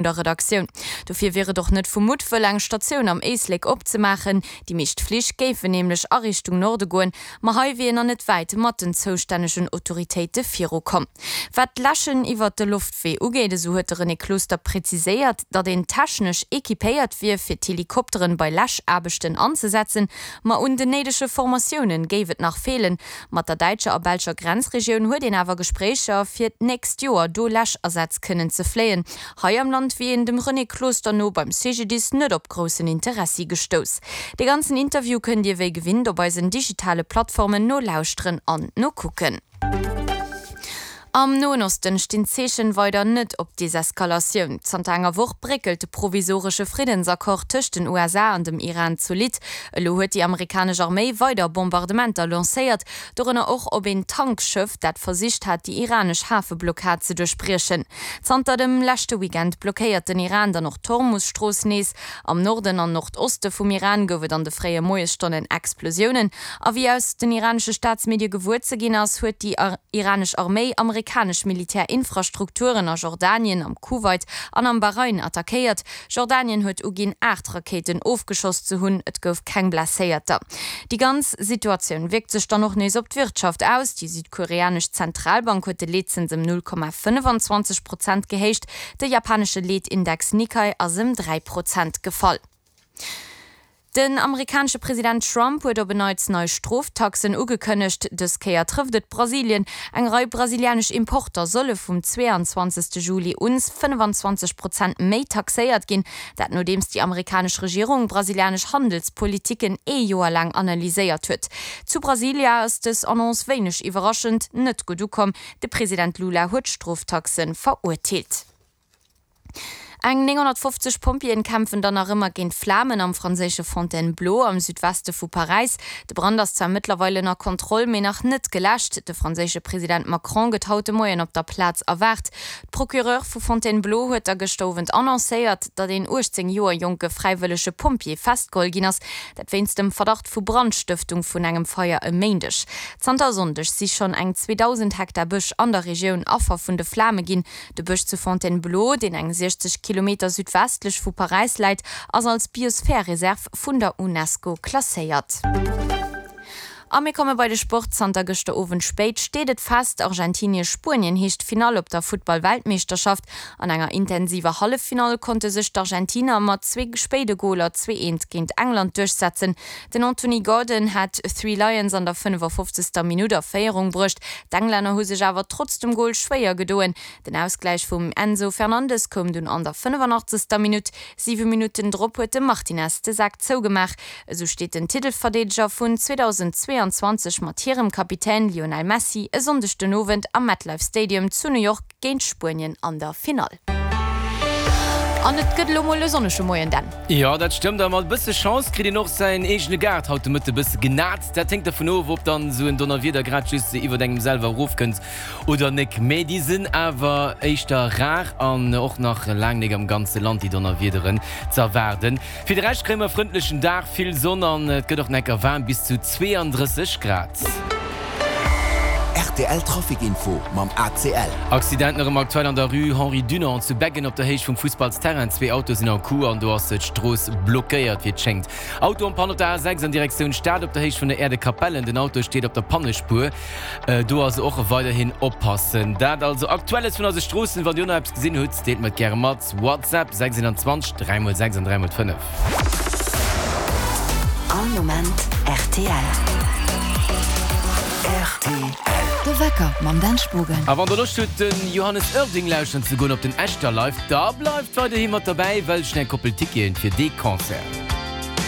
Der Redaktioun. Dofir wier et och net vu Muttwëll, eng Statioun am Éislek opzemaachen. Déi meescht Flich géifen nämlech a Richtung Norde goen, ma hei wier een nach net wäit mat den zoustännegen Autoritéite virukomm. Wat d'Läschen iwwert de Loftwee ugeet, esou huet de René Closter präziséiert, datt een technesch equipéiert wier, fir d'Helikopteren bei Läschaarbechten anzesetzen, ma un den néidege Formatiounen géif et nach feelen. Mat der däitscher a belscher Grenzregioun huet een awer Gespréicher, fir d'nächst Joer do Läschasätz kënnen ze fléien. Hei am Land wier een dem René Closter no beim CGDIS net op groussen Interessi gestouss. De ganzen Interview kënnt Dir wéi gewinnt op eisen digitale Plattformen nolauschteren an nokucken. Am Noen Osten stinn d'Zeechen weider net op Deseskalatioun. Zanter enger Woch bréckelt de provisoresche Friddensaccord tëscht den USA an dem Iran zolidd. Elo huet déi amerikanesch Arméi weider Bombardementer lancéiert, dorënner och op een Tankschëff, dat versicht hat, déi iranesch Hafeblockad ze duerchbriechen. Zanter dem leschte Weekend blockéiert den Iran dann och d'Hormus-Strooss nees. Am Norden an Nordoste vum Iran gouf et an de fréie Moiesstonnen Explosiounen. A wéi aus den iranesche Staatsmedie gewuer ze ginn ass, huet déi iranesch Arméi amerikanesch Militärinfrastrukturen a Jordanien, am Kuwait an am Bahrain attackéiert. Jordanien huet uginn, 8 Rakéiten ofgeschoss ze hunn. Et gouf keng Blesséierter. Déi ganz Situatioun wierkt sech dann och nees op d'Wirtschaft aus. Déi südkoreanesch Zentralbank huet de Leetzëns ëm 0,25 Prozent gehéicht. De japanesche Leetindex Nikkei ass ëm 3 Prozent gefall. Den amerikanesche President Trump huet op en Neits nei Stroftaxen ugekënnegt. Dës Kéier trëfft et Brasilien. Eng Rei brasilianesch Importer solle vum 22. Juli un 25 Prozent méi taxéiert ginn. Dat nodeems déi amerikanesch Regierung brasilianesch Handelspolitiken ee Joer laang analyséiert huet. Zu Brasilia ass dës Annonce wéineg iwwerraschend net gutt ukomm. De President Lula huet d'Stroftaxe verurteelt. Eng 950 Pompjeeën kämpfen dann nach ëmmer géint d'Flamen am franséische Fontainebleau am Südweste vu Paräis. De Brand ass zwar mëttlerweil ënner Kontroll, mee nach net geläscht. De franséische President Macron gëtt haut de Moien op der Plaz erwaart. D'Procureur vu Fontainebleau huet da gëschter Owend annoncéiert, datt een 18 Joer jonke fräiwëllege Pompjee festgeholl ginn ass. Dat wéinst dem Verdacht vu Brandstëftung vun engem Feier e Méindeg. Zanter e Sonndeg si schonn eng 2.000 Hektar Bësch an der Regioun Affer vun de Flame ginn. De Bësch zu Fontainebleau, deen eng 60 Kilometer südwestlech vu Paräis läit, ass als Biosphärereserv vun der Unesco klasséiert. A mir komme bei de Sport. Zanter gëschter Owend spéit steet et fest, Argentinie-Spuenien heescht d'Finall op der Futtball-Weltmeeschterschaft. An enger intensiver Halleffinall konnte sech d'Argentiner mat zwee spéide Goler 2, 1 géint England duerchsetzen. Den Anthony Gordon hat d'Three Lions an der 55. Minutt a Féierung bruecht. D'Englänner hu sech awer trotz dem Gol schwéier gedoen. Den Ausgläich vum Enzo Fernandes koum dunn an der 85. Minutt. Siwe Minutten drop huet de Martinez de Sak zougemaach. Esou steet den Titelverdeedeger vun 2022 mat hirem Kapitän Lionel Messi e Sonndeg den Owend am MetLife Stadium zu New York géint Spuenien an der Finall. An et gëtt elo mol e sonnege Moien, Dan. Jo, dat stëmmt. A mat e bësse Chance kritt een och säin eegene Gaart haut de Mëtte e bësse genat. Dat héngt dervun of, ob dann esou en Donnerwieder grad just iwwert engem selwer erofkënnt oder nek. Mee déi sinn awer éischter rar an och nach laang nek am ganze Land, déi Donnerwiederen ze erwaarden. Fir de Rescht kréie mer e frëndlechen Dag, vill Sonn an et gëtt och necker waarm, bis zu 32 Grad. Rtl Trafic Info mam ACL. Accident nach ëmmer aktuell an der Rue Henri Dunant zu Beggen op der Héicht vum Fussballsterrain. Zwee Autoe sinn en Coup an do ass d'Strooss blockéiert wéi et schéngt. Auto en Panne op der A6 an Direktioun Stad op der Héicht vun der Äerdekapellen. Den Auto steet op der Pannespuer. Do also och weiderhin oppassen. Dat also Aktuelles vun eise Stroossen. Wann Dir och nach eppes gesinn hutt, deelt mer et gäre mat. WhatsApp 621 3 x 6 an 3 x 5. All Moment rtl. Rtl. De Wecker mam Dan Spogen. A wann der Loscht hutt den Johannes Oerding lauschteren ze goen op den Echterlive, da bleift weiderhi mat derbäi, well ech hunn eng Koppel Ticketen fir dee Concert.